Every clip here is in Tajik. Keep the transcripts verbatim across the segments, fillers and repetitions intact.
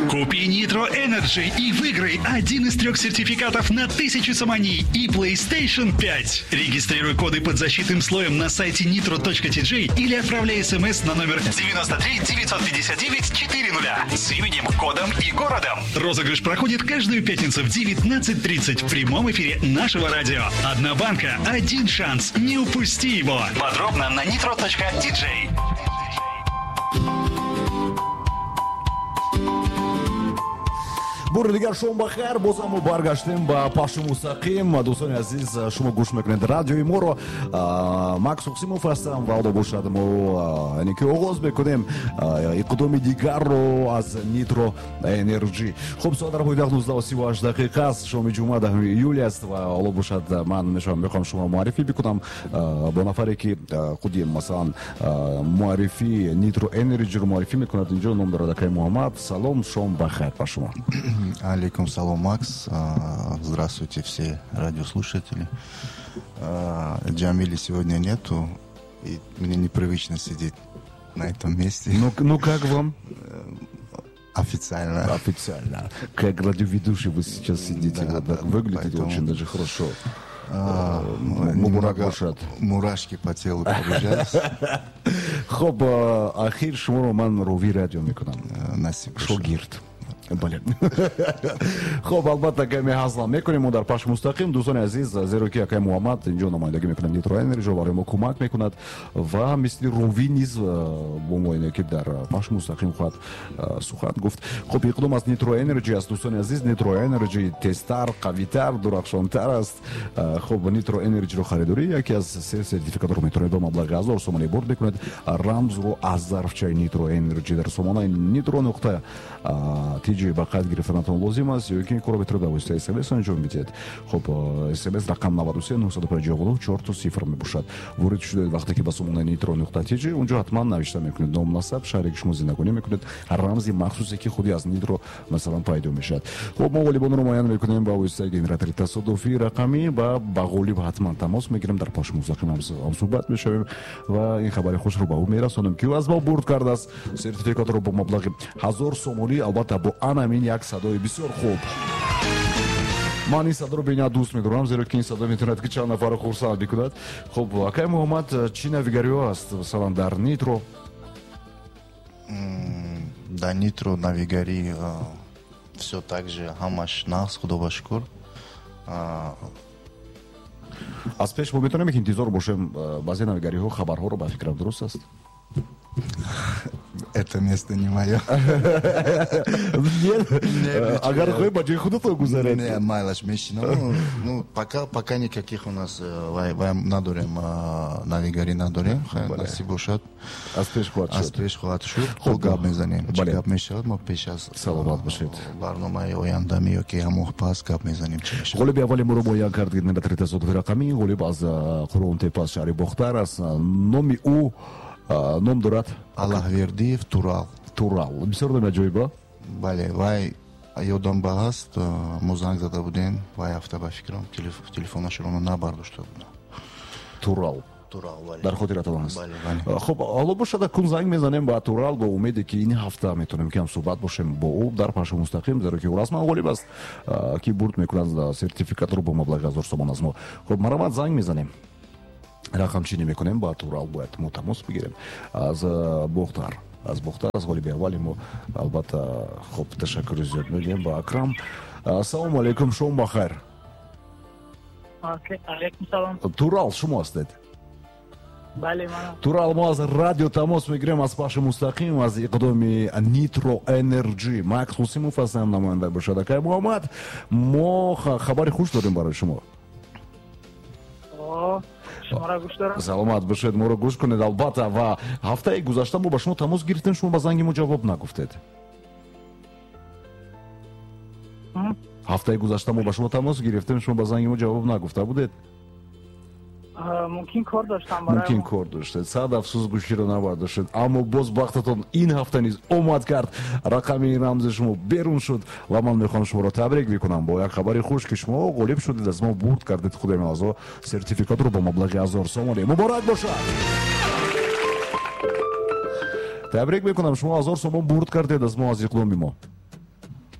Купи Nitro Energy и выиграй один из трех сертификатов на тысячу сомони и PlayStation пять. Регистрируй коды под защитным слоем на сайте nitro точка ти джей или отправляй смс на номер девяносто три девятьсот пятьдесят девять четыре нуля с именем, кодом и городом. Розыгрыш проходит каждую пятницу в девятнадцать тридцать в прямом эфире нашего радио. Одна банка, один шанс. Не упусти его. Подробно на nitro точка ти джей. Бори дигар шом бахайр, боз ҳам мо баргаштем ба пахши мустақим. Дӯстони азиз, шумо гӯш мекунед радиои моро. Макс Қосимов ҳастам ва ҳоло бошад мо яъне ки оғоз мекунем иқдоми дигарро аз Nitro Energy. Хуб, соат дар пойтахт нуздаҳу сиву ҳашт дақиқа аст, шоми ҷумъа даҳуми июл аст ва ҳоло бошад ман мешавам мехоҳам шуморо муаррифӣ бикунам бо нафаре ки худи масалан муаррифии Nitro Energy-ро муаррифӣ мекунад. Инҷо ном дорад акай Муҳаммад. Салом, шом бахайр ба шумо. Алейкум салом, Макс. Здравствуйте, все радиослушатели. Джамили сегодня нету, и мне непривычно сидеть на этом месте. Ну, ну как вам? Официально. Официально. Как радиоведущий вы сейчас сидите, да, вот так да, выглядите поэтому... очень даже хорошо. А, немного мурашки по телу пробежались. Хоб, ахир шуморо ман рови радио мекунам. Насиб. Шогирд. Бале. Хоб, албатта каме ҳазла мекунем мо дар пахши мустақим, дӯстони азиз, зеро ки акай Муҳаммад инҷо намояндагӣ мекунад Nitro Energy, барои мо кӯмак мекунад ва мисли ровӣ низ бо мо ине ки дар пахши мустақим хоҳад сухан гуфт. Хоб, иқдом аз Nitro Energy аст, дӯстони азиз. Nitro Energy тезтар, қавитар, дурахшонтар аст. Хоб, Nitro Energy-ро харидорӣ яке аз се сертификатро метавонед бо маблағи ҳазор сомонӣ бурд мекунед. Рамзро аз зарфчаи Nitro Energy дар сомонаи nitro нуқта ти джей ба қайд гирифтанатон лозим аст ё ки ин корро метавонед ба воситаи смс анҷом бидиҳед. Хоб, смс рақам наваду се нуҳсаду панҷоҳу нуҳ чорто сифр мебошад. Ворид шудаед вақте ки ба сомонаи nitro нуқта ти джей, унҷо ҳатман навишта мекунед ном, насаб, шаҳре ки шумо зиндагонӣ мекунед, рамзи махсусе ки худи аз Nitro масалан пайдо мешавад. Хоб, мо ғолибонро муайян мекунем ба воситаи генератори тасодуфии рақамӣ ва ба ғолиб ҳатман тамос мегирем, дар пахши мустақим ҳамсуҳбат мешавем ва ин хабари хушро ба ӯ мерасонем ки ӯ аз мо бурд кардааст сертификатро бо маблағи ҳазор сомонӣ, албатта бо анамин як садои бисёр хуб. Ман ин садоро бениҳоят дӯст медорам, зеро ки ин садо метавонад ки чанд нафарро хурсанд бикунад. Хуб, акай Муҳаммад, чӣ навигариҳо аст масалан дар Nitro? Дар Nitro навигарӣ всё так же, ҳамаш нағз, худо ба шукр. Аз пеш мо метавонем ки интизор бошем баъзе навигариҳо, хабарҳоро, ба фикрам дуруст аст? Это место не мое. Нет, агар хоҳӣ ба ҷои худатон гузаред. Не, майлаш мешинам. Ну, пока, пока никаких у нас вай надорем, навигари надорем. Насиб бошад. Аз пеш хоҳад шуд. Аз пеш хоҳад шуд. Хуб гап мезанем. Чӣ гап мешавад, мо пеш аз саломат бошед. Барномаи ояндами ё ки ҳамон пас гап мезанем чӣ мешавад. Ғолиби аввали моро муайян кард генератори тасодуфи рақамӣ. Ғолиб аз Қурғонтепа, аз шаҳри Бохтар аст. Номи ӯ ном дорад Аллаҳвердиев Турал. Турал. Бисёр номи аҷоиба. Бале, вай ёдам ба ҳаст, мо занг зада будем, вай ҳафта ба фикрам телефонашро набардошта будам. Турал. Турал, бале. Дар хотиратон ҳаст. Бале, бале. Хуб, ҳоло бошад акун занг мезанем ба Турал бо умеде ки ин ҳафта метавонем ки ҳамсуҳбат бошем бо ӯ дар пахши мустақим, зеро ки ӯ расман ғолиб аст, ки бурд мекунад сертификатро бо маблағи ҳазор сомон аз мо. Хуб, марҳамат, занг мезанем. Рақамчинӣ мекунем ба Турал, бояд мо тамос бигирем аз Бохтар, аз Бохтар, аз ғолиби аввали мо. Албатта, хуб, ташаккури зиёд мегӯем ба Акрам. Ассалому алайкум, шом бахайр. Алайкум салом. Турал шумо ҳастед? Бале, манам. Турал, мо аз радио тамос мегирем, аз пахши мустақим, аз иқдоми Nitro Energy. Макс Қосимов ҳастам, намоянда бошад акай Муҳаммад. Мо хабари хуш дорем барои шумо. Шуморо гӯш дорам. Саломат бошед, моро гӯш кунед албатта. Ва ҳафтаи гузашта мо ба шумо тамос гирифтем, шумо ба занги мо ҷавоб нагуфтед. Ҳафтаи гузашта мо ба шумо тамос гирифтем, шумо ба занги мо ҷавоб нагуфта будед. Мумкин кор доштам барои мумкин кор доштед. Сад афсӯс гӯширо набардоштед, аммо боз бахтатон ин ҳафта низ омад кард. Рақами рамзи шумо берун шуд ва ман мехоҳам шуморо табрик бикунам бо як хабари хуш ки шумо ғолиб шудед, аз мо бурд кардед худи мавзӯъ сертификатро бо маблағи ҳазор сомонӣ. Муборак бошад! Табрик мекунам, шумо ҳазор сомон бурд кардед аз мо, аз иқдоми мо.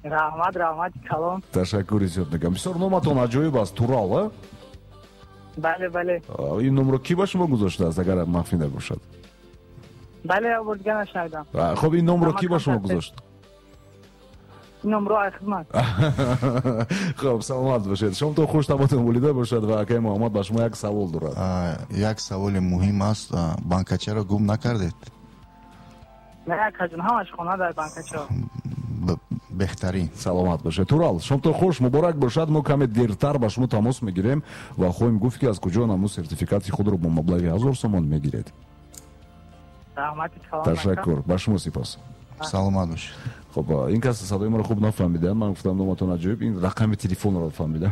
Раҳмат, раҳмат калон. Ташаккури зиёд мегӯям. Бисёр номатон аҷоиб аст, Турал, а? Бале, бале. Ин номро кӣ ба шумо гузоштааст, агар махфӣ набошад? Бале, бурдга нашнавидам. Хуб, ин номро кӣ ба шумо гузошт? Номро ай хидмат. Хуб, саломат бошед. Шомтон хуш, табатон болида бошад ва акаи Муҳаммад ба шумо як савол дорад. Як саволи муҳим аст. Банкачаро гум накардед? Не, акаҷон, ҳамаш хона дар банкача. Беҳтарин. Саломат бошед. Турал, шомтон хуш, муборак бошад. Мо каме дертар ба шумо тамос мегирем ва хоҳем гуфт, ки аз куҷо наму сертификати худро бо маблағи ҳазор сомон мегиред. Ташаккур, ба шумо сипос. Саломат бошед. Хуб, ин кас садои маро хуб нафаҳмиданд. Ман гуфтам номатон аҷоиб, ин рақами телефонро фаҳмидам.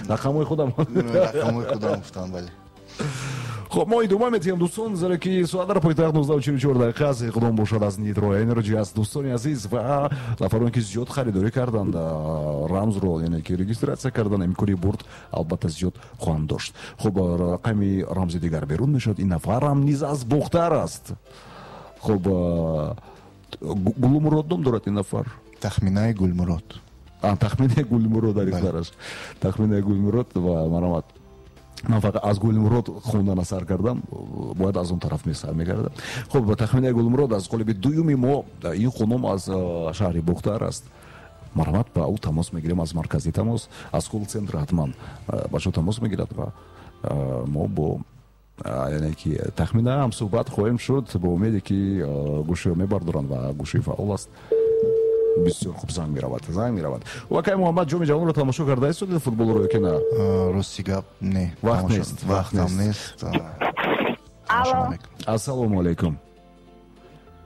Рақамҳои худам. Рақамҳои худам гуфтам, бале. Хуб, мо идома медиҳем, дӯстон, зеро ки соат дар пойтахт нуздаҳу чилу чор дақиқа аст. Иқдом бошад аз Nitro Energy аст, дӯстони азиз, ва нафароне ки зиёд харидорӣ карданд, рамзро, яъне ки регистратсия карданд, имкони бурд албатта зиёд хоҳанд дошт. Хуб, рақами рамзи дигар берун мешавад. Ин нафарам низ аз Бохтар аст. Хуб, Гулмурод ном дорад ин нафар. Тахминаи Гулмурод. Тахминаи Гулмурод дар ихтиёраш. Тахминаи Гулмурод ва маромад. Ман фақат аз Гулмурод хондан сар кардам, бояд аз он тараф сар мекардам. Хуб, Тахминаи Гулмурод аз қолиби дуюми мо, ин хонум аз шаҳри Бохтар аст. Марҳамат, ба ӯ тамос мегирем аз маркази тамос, аз колл-центр ҳатман ба шумо тамос мегирад ва мо бо яъне ки Тахмина ҳам суҳбат хоҳем шуд, бо умеде ки гӯширо мебардоранд ва гӯши фаъол аст. Бисёр хуб, занг меравад, занг меравад. Акаи Муҳаммад, ҷоми ҷаҳонро тамошо карда истодед футболро ё ки на? Рости гап, не. Вақт нест, вақтам нест. Алло. Ассалому алайкум.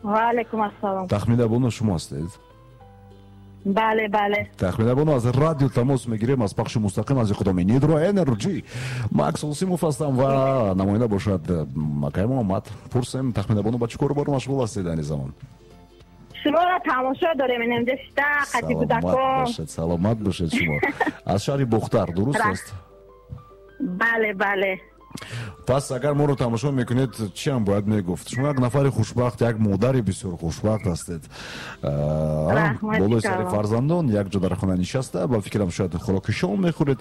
Ва алайкум ассалом. Тахмина бону шумо ҳастед? Бале, бале. Тахмина бону, аз радио тамос мегирем, аз пахши мустақим аз иқдоми Nitro Energy. Макс Олсимов ҳастам ва намоянда бошад акаи Муҳаммад. Пурсем, Тахмина бону, ба чӣ кору бор машғул ҳастед айни замон? Шуморо тамошо дорем, инҷа шита қати кӯдакон. Саломат бошед шумо. Аз шаҳри Бохтар, дуруст аст? Бале, бале. Пас агар моро тамошо мекунед, чӣ ҳам бояд мегуфт? Шумо як нафари хушбахт, як модари бисёр хушбахт ҳастед. Болои сари фарзандон як ҷо дар хона нишаста, ба фикрам шояд хӯроки шом мехӯред.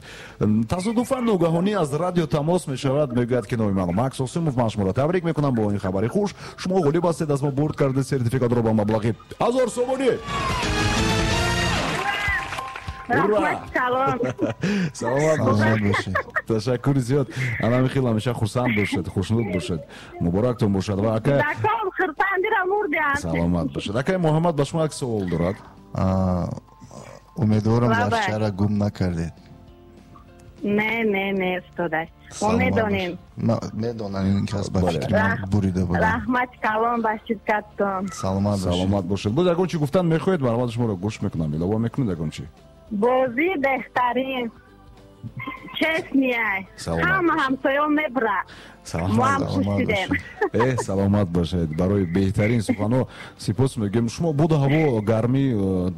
Тасодуфан ногаҳонӣ аз радио тамос мешавад, мегӯяд ки номи ман Макс Осимов, ман шуморо табрик мекунам бо ин хабари хуш. Шумо ғолиб ҳастед, аз мо бурд кардед сертификатро ба маблағи ҳазор сомонӣ. Ура! Саломат бошед. Ташаккури зиёд. Ана хел ҳамеша хурсанд бошед, хушнуд бошед. Муборактон бошад ва ака саломат бошед. Акаи Муҳаммад ба шумо як савол дорад. Умедворам зарфчаро гум накардед. Не, не, не, устода. Мо медонем. Медонам, ин кас ба фикри ман бурида буд. Раҳмат калон ба ширкаттон. Саломат бошед. Саломат бошед. Боз ягон чӣ гуфтан мехоҳед, марҳамат, шуморо гӯш мекунам. Илова мекунед ягон чӣ? Бозӣ беҳтарин. Честный. Ҳама ҳамсоён мебурад. Саломат бошед. Э, саломат бошед. Барои беҳтарин суханҳо сипос мегӯем. Шумо буду ҳаво гармӣ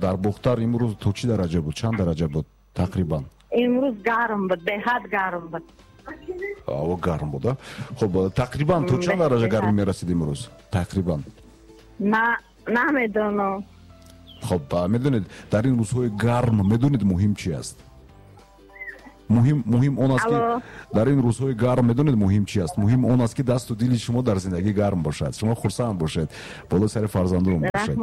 дар Бохтар имрӯз то чӣ дараҷа буд? Чанд дараҷа буд тақрибан? Имрӯз гарм буд, беҳад гарм буд. Ҳаво гарм буд, а? Хуб, тақрибан то чанд дараҷа гармӣ мерасид имрӯз? Тақрибан. На, намедонам. Хуб, медонед, дар ин рӯзҳои гарм медонед муҳим чи аст? Муҳим, муҳим он аст ки дар ин рӯзҳои гарм медонед муҳим чи аст? Муҳим он аст ки дасту дили шумо дар зиндагӣ гарм бошад, шумо хурсанд бошед, болои сари фарзандон бошед,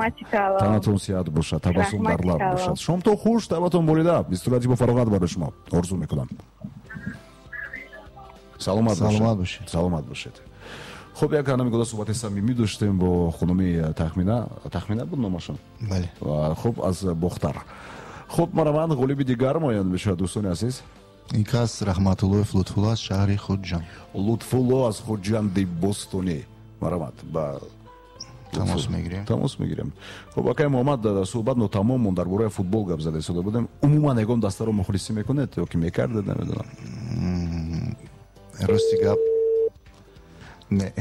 танатон сиҳат бошад, табассум дар лаб бошад. Шомтон хуш, табатон болида, истироҳати бо фароғат барои шумо орзу мекунам. Саломат бошед. Саломат бошед. Хуб, як ана мегӯда суҳбати самимӣ доштем бо хонуми Тахмина. Тахмина буд номашон? Бале. Хуб, аз Бохтар. Хуб, мараман ғолиби дигар муайян мешавад, дӯстони азиз. Ин кас Раҳматуллоев Лутфулло аз шаҳри Хуҷанд. Лутфулло аз Хуҷанди Бостонӣ. Марамат, ба тамос мегирем. Тамос мегирем. Хуб, акаи Муҳаммад, суҳбат нотамом монд, дар бораи футбол гап зада истода будем. Умуман ягон дастаро мухлисӣ мекунед ё ки мекардед, намедонам. Рости гап не.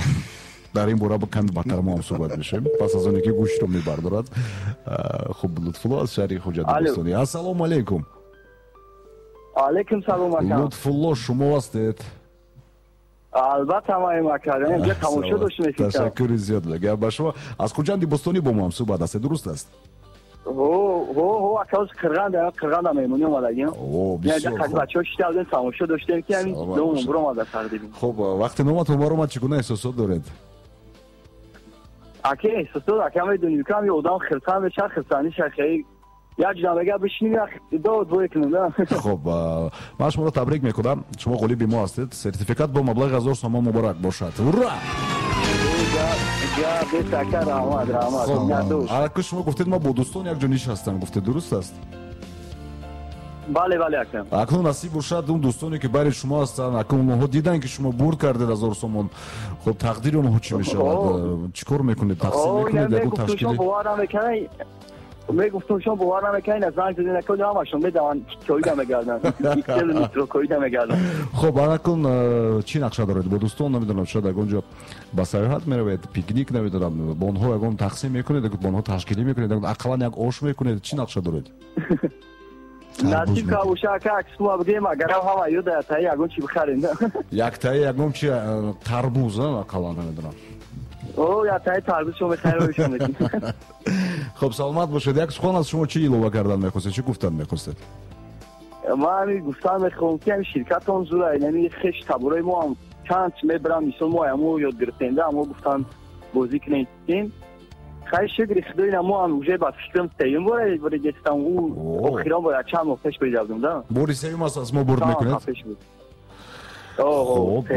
Дар ин бора каме бадтар мо ҳам суҳбат мешавем пас аз оне ки гӯшро мебардорад. Хуб, Лутфулло аз шаҳри Хуҷанди Бостонӣ. Ассалому алайкум. Алайкум салом ака. Лутфулло, шумо ҳастед? Албатта маем ака, инҷа тамошо доштем. Ташаккури зиёд. Гап ба шумо. Аз Хуҷанди Бостонӣ бо мо ҳам суҳбат ҳастед, дуруст аст? Ҳо, ҳо, ҳо, ака, қирғанда, қирғанда меҳмонӣ омадагим. О, бисёр хуб. Бачаҳо шита будем, тамошо доштем, ки ҳамин номам баромада тақдим. Хуб, вақте номатон баромад, чӣ гуна эҳсосот доред? Ака, эҳсосот, ака, медонӣ, кам ё одам хирсан мешавад, хирсандӣ шахи як ҷудам мега бишинем, як дод бой кунем, да. Хуб, ман шуморо табрик мекунам. Шумо ғолиби мо ҳастед. Сертификат бо маблағи ҳазор сомон муборак бошад. Ура! Ака, шумо гуфтед, ма бо дӯстон якҷо нишастам, гуфтед, дуруст аст? Бале, бале, ака. Акнун насиб бошад он дӯстоне, ки байни шумо ҳастанд, акнун онҳо диданд, ки шумо бурд кардед ҳазор сомон. Хуб, тақдири онҳо чӣ мешавад? Чӣ кор мекунед? Тақсим мекунед? Ягон ташкили? Мегуфтум, шумо бовар намекунед, аз занг задед, накунед, ҳамашон медаванд, коида мегарданд, иксел коида мегарданд. Хуб, анакун чӣ нақша доред бо дӯстон? Намедонам, шояд ягон ҷо ба сайёҳат меравед, пикник, намедонам, бо онҳо ягон тақсим мекунед, бо онҳо ташкилӣ мекунед, ақаллан як ош мекунед, чӣ нақша доред? Насиб кабоша, ака, аксума бигем, агарам ҳама ёда таи ягон чӣ бихарем. Як таи ягон чи, тарбуз, ақаллан, намедонам. О, я таи тарбуз шумо мехарем, шумо мекунем. Хуб, саломат бошед. Як сухан аз шумо чӣ илова кардан мехостед, чӣ гуфтан мехостед? Ман ҳамин гуфтан мехоҳам, ки ҳамин ширкатон зура, яъне хеш табораи мо ҳам чанд мебарам, мисол мо ҳамо ёд гирифтем, да, ҳамо гуфтан бозӣ кунем. Хайр, шукри Худо, ина мо ҳам уже ба фикрам сеюм бора бора гирифтам, ӯ охирон бора чанд моҳ пеш бурдам, да. Бори сеюм аст аз мо бурд мекунед? Хуб,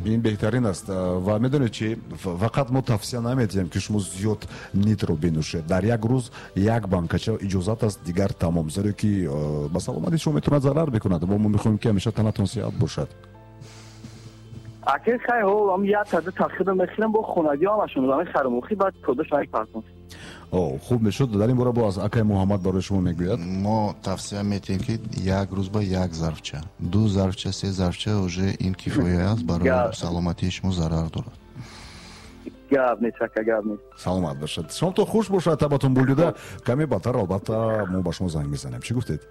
ин беҳтарин аст. Ва медонед чи, фақат мо тавсия намедиҳем, ки шумо зиёд нитро бинӯшед. Дар як рӯз як банкача иҷозат аст, дигар тамом, зеро ки ба саломатии шумо метавонад зарар бикунад. Ва мо мехоҳем, ки ҳамеша танатон сиҳат бошад. Ака, хай, ҳо, ам як та ду та худам мехӯрам, бо хонагӣ ҳамашон мехарам, охи баъд кодаш мепартам. О, хуб мешуд. Дар ин бора боз акай Муҳаммад барои шумо мегӯяд. Мо тавсия метиҳем, ки як рӯз ба як зарфча, ду зарфча, се зарфча уже ин кифоя аст, барои саломатии шумо зарар дорад. Гап нест, ака, гап нест. Саломат бошад. Шомтон хуш бошад, табатон булида. Каме баъдтар албатта мо ба шумо занг мезанем. Чӣ гуфтед?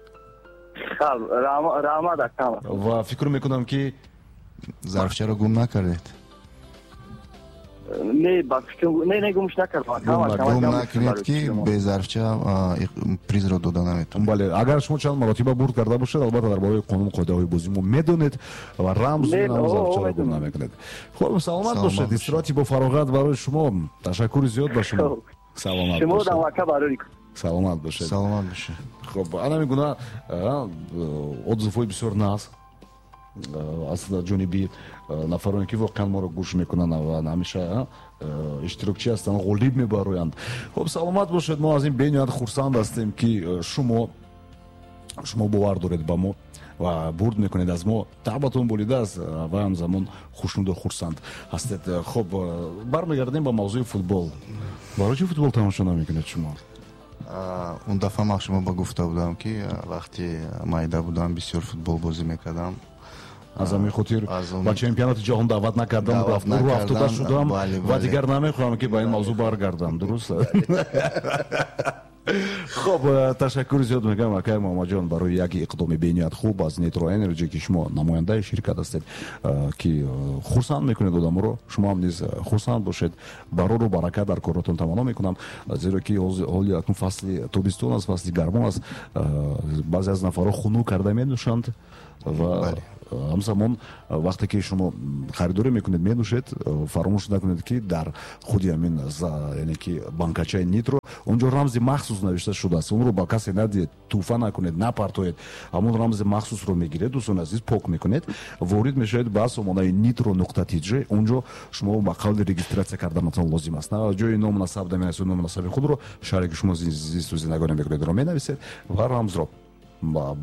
Хаб, раҳмат, ака. Ва фикр мекунам, ки зарфчаро гум накардед? Не, ба фикрам, не, не, гумш накардам. Гум накунед, ки бе зарфча призро дода наметавонед. Бале, агар шумо чанд маротиба бурд карда бошед, албатта дар бораи қонун қоидаҳои бозӣ мо медонед ва рамзу зарфчаро гум намекунед. Хуб, саломат бошед. Истироҳати бо фароғат барои шумо. Ташаккури зиёд ба шумо. Саломат бошед. Шумо дам ака барои. Саломат бошед. Саломат бошед. Хуб, ана мегуна отзывҳои бисёр нағз аз ҷониби нафароне, ки воқеан моро гӯш мекунанд ва ҳамеша иштирокчӣ ҳастанд, ғолиб мебароянд. Хуб, саломат бошед. Мо аз ин бениҳоят хурсанд ҳастем, ки шумо шумо бовар доред ба мо ва бурд мекунед аз мо. Табатон болида аст ва ҳамзамон хушнуду хурсанд ҳастед. Хуб, бармегардем ба мавзӯи футбол. Барои чӣ футбол тамошо намекунед шумо? Он дафъа ман шумо ба гуфта будам, ки вақте майда будам, бисёр футбол бозӣ мекардам. Аз ҳамин хотир ба чемпионати ҷаҳон даъват накардам, рӯ афтода шудам ва дигар намехоҳам, ки ба ин мавзӯъ баргардам. Дуруст? Хуб, ташаккури зиёд мегӯям, акай Муҳаммадҷон, барои як иқдоми бениҳоят хуб аз Nitro Energy, ки шумо намояндаи ширкат ҳастед, ки хурсанд мекунед одаморо. Шумо ҳам низ хурсанд бошед. Барору баракат дар коротон таманно мекунам, зеро ки ҳоли акнун фасли тобистон аст, фасли гармон аст. Баъзе аз нафарҳо хунук карда менӯшанд ва ҳамзамон вақте ки шумо харидорӣ мекунед, менӯшед, фаромӯш накунед, ки дар худи ҳамин, яъне ки банкачаи Нитро, онҷо рамзи махсус навишта шудааст. Онро ба касе надиҳед, тӯҳфа накунед, напартоед. Ҳамон рамзи махсусро мегиред, дӯстони азиз, пок мекунед, ворид мешавед ба сомонаи nitro нуқта tj. Онҷо шумо ба қавли регистратсия карданатон лозим аст. Ҷои ному насаб менависед, ному насаби худро, шаҳре ки шумо зисту зиндагонӣ мекунедро менависед ва рамзро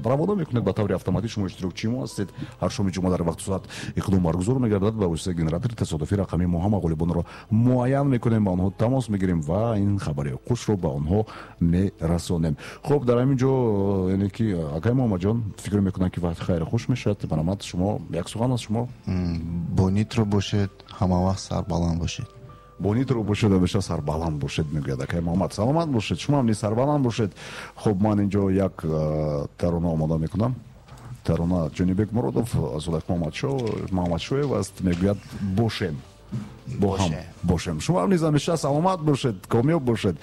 равона мекунед. Ба таври автоматӣ шумо иштирокчии мо ҳастед. Ҳар шоми ҷумъа дар вақту соат иқдом баргузор мегардад. Ба воситаи генератори тасодуфӣ рақами мо ҳама ғолибонро муайян мекунем, ба онҳо тамос мегирем ва ин хабари хушро ба онҳо мерасонем. Хуб, дар ҳамин ҷо, яъне ки акай Муҳаммадҷон, фикр мекунам, ки вақти хайри хуш мешавад. Баромад шумо, як сухан аз шумо. Бо Нитро бошед, ҳама вақт сарбаланд бошед. Бо Нитро бошед, ҳамеша сарбаланд бошед, мегӯяд акай Муҳаммад. Саломат бошед, шумо ҳам низ сарбаланд бошед. Хуб, ман инҷо як тарона омода мекунам. Тарона Ҷонибек Муродов, Зулайх Муҳаммадшоев аст, мегӯяд бошем. Бо ҳам бошем. Шумо ҳам низ ҳамеша саломат бошед, комёб бошед.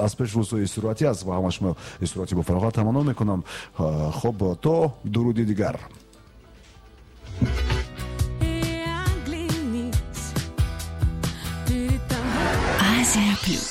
Аз пеш рӯзҳои истироҳатӣ аст ва ҳама шумо истироҳати бо фароғат таманно мекунам. Хуб, то дуруди дигар. Азия плюс.